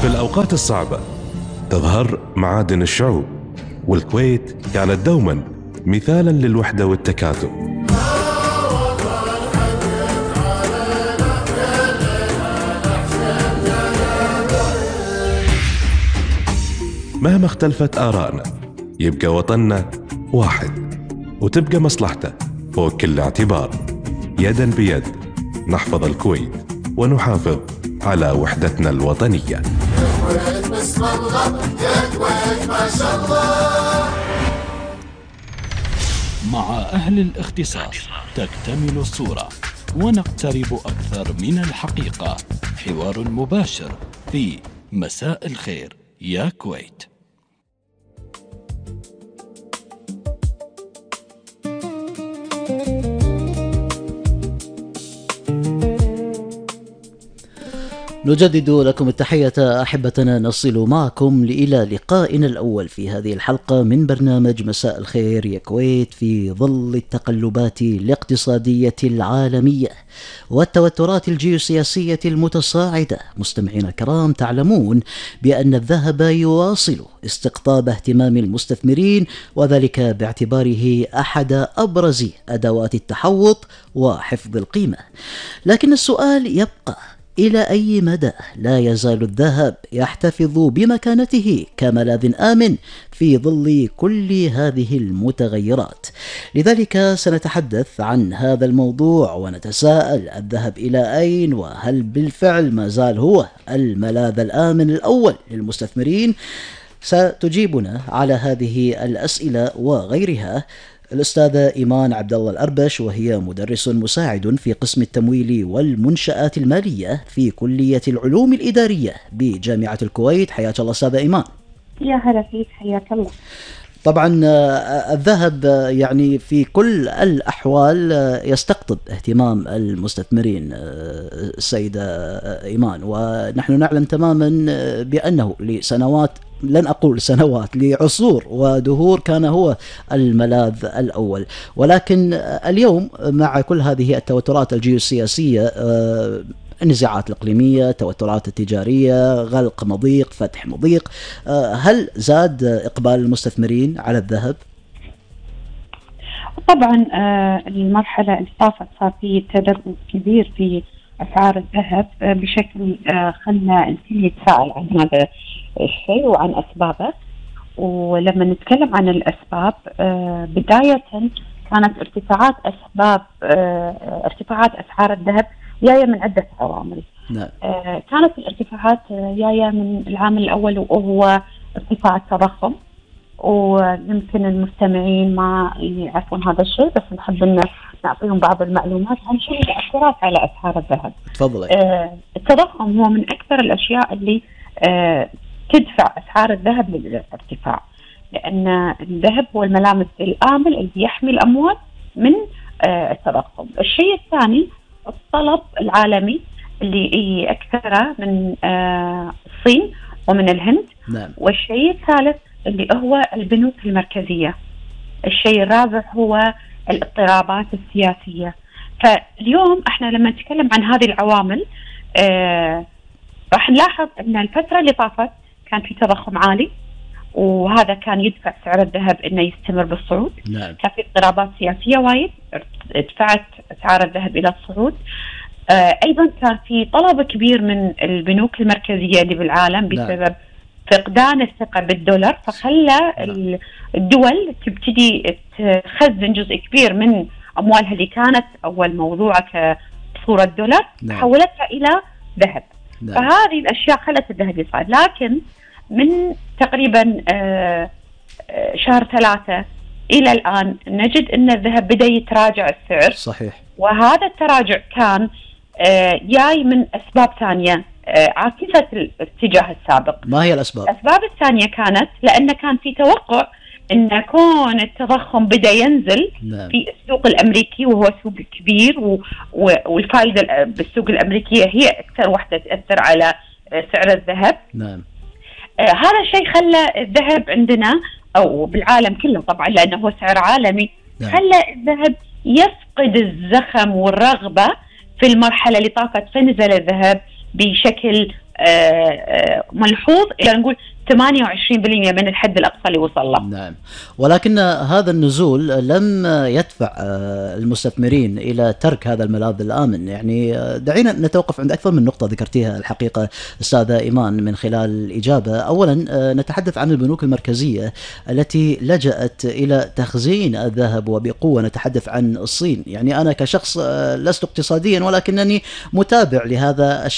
في الأوقات الصعبة تظهر معادن الشعوب، والكويت كانت دوما مثالا للوحدة والتكاتف. مهما اختلفت آرائنا يبقى وطننا واحد، وتبقى مصلحته فوق كل اعتبار. يدا بيد نحفظ الكويت ونحافظ على وحدتنا الوطنية. يا كويت بسم الله، يا كويت ما شاء الله. مع أهل الاختصاص تكتمل الصورة ونقترب أكثر من الحقيقة. حوار مباشر في مساء الخير يا كويت. نجدد لكم التحية أحبتنا، نصل معكم إلى لقائنا الأول في هذه الحلقة من برنامج مساء الخير يا كويت، في ظل التقلبات الاقتصادية العالمية والتوترات الجيوسياسية المتصاعدة. مستمعينا الكرام، تعلمون بأن الذهب يواصل استقطاب اهتمام المستثمرين، وذلك باعتباره أحد أبرز أدوات التحوط وحفظ القيمة. لكن السؤال يبقى: إلى أي مدى لا يزال الذهب يحتفظ بمكانته كملاذ آمن في ظل كل هذه المتغيرات؟ لذلك سنتحدث عن هذا الموضوع ونتساءل: الذهب إلى أين؟ وهل بالفعل ما زال هو الملاذ الآمن الأول للمستثمرين؟ ستجيبنا على هذه الأسئلة وغيرها الأستاذة إيمان عبد الله الأربش، وهي مدرس مساعد في قسم التمويل والمنشآت المالية في كلية العلوم الإدارية بجامعة الكويت. حياك الله أستاذة إيمان. يا هلا فيك، حياك الله. طبعا الذهب يعني في كل الأحوال يستقطب اهتمام المستثمرين السيدة إيمان، ونحن نعلم تماما بأنه لسنوات، لن أقول سنوات، لعصور ودهور كان هو الملاذ الأول. ولكن اليوم مع كل هذه التوترات الجيوسياسية، النزاعات الإقليمية، التوترات التجارية، غلق مضيق، فتح مضيق، هل زاد إقبال المستثمرين على الذهب؟ طبعا المرحلة اللي طافت صار في تدرج كبير في أسعار الذهب بشكل خلى الكل يتساءل عن هذا الشيء وعن أسبابه. ولما نتكلم عن الأسباب، بداية كانت ارتفاعات أسعار الذهب جاية من عدة عوامل. نعم. كانت الارتفاعات جاية من العامل الأول وهو ارتفاع التضخم، ويمكن المستمعين ما يعرفون هذا الشيء، بس نحب أن نعطيهم بعض المعلومات عن شو المؤثرات على أسعار الذهب. تفضلي. التضخم هو من أكثر الأشياء اللي تدفع أسعار الذهب للارتفاع، لأن الذهب هو الملامس الآمن اللي يحمي الأموال من التضخم. الشيء الثاني الطلب العالمي اللي أكثره من الصين ومن الهند. نعم. والشيء الثالث اللي هو البنوك المركزية. الشيء الرابع هو الاضطرابات السياسية. فاليوم احنا لما نتكلم عن هذه العوامل راح نلاحظ ان الفترة اللي طافت كان في تضخم عالي، وهذا كان يدفع سعر الذهب انه يستمر بالصعود. نعم. كان في اضطرابات سياسية وايد دفعت اسعار الذهب الى الصعود. ايضا كان في طلب كبير من البنوك المركزية اللي بالعالم بسبب فقدان الثقة بالدولار، فخلى الدول تبتدي تخزن جزء كبير من أموالها اللي كانت أول موضوعة كصورة دولار، حولتها إلى ذهب. فهذه الأشياء خلت الذهب يصعد. لكن من تقريبا شهر 3 إلى الآن نجد أن الذهب بدأ يتراجع السعر. صحيح. وهذا التراجع كان جاي من أسباب ثانية عكست الاتجاه السابق. ما هي الأسباب؟ الأسباب الثانية كانت لأن كان في توقع أن كون التضخم بدأ ينزل. نعم. في السوق الأمريكي، وهو سوق كبير، والفائدة بالسوق الأمريكية هي أكثر واحدة تأثر على سعر الذهب. نعم. هذا الشيء خلى الذهب عندنا أو بالعالم كله طبعا لأنه هو سعر عالمي. نعم. خلى الذهب يفقد الزخم والرغبة في المرحلة اللي طافت، فنزل الذهب بشكل ملحوظ، إلى نقول 28% من الحد الأقصى اللي وصل له. نعم، ولكن هذا النزول لم يدفع المستثمرين إلى ترك هذا الملاذ الآمن. يعني دعينا نتوقف عند أكثر من نقطة ذكرتيها الحقيقة أستاذة إيمان من خلال الإجابة. أولا نتحدث عن البنوك المركزية التي لجأت إلى تخزين الذهب وبقوة، نتحدث عن الصين. يعني أنا كشخص لست اقتصاديا ولكنني متابع لهذا الشيء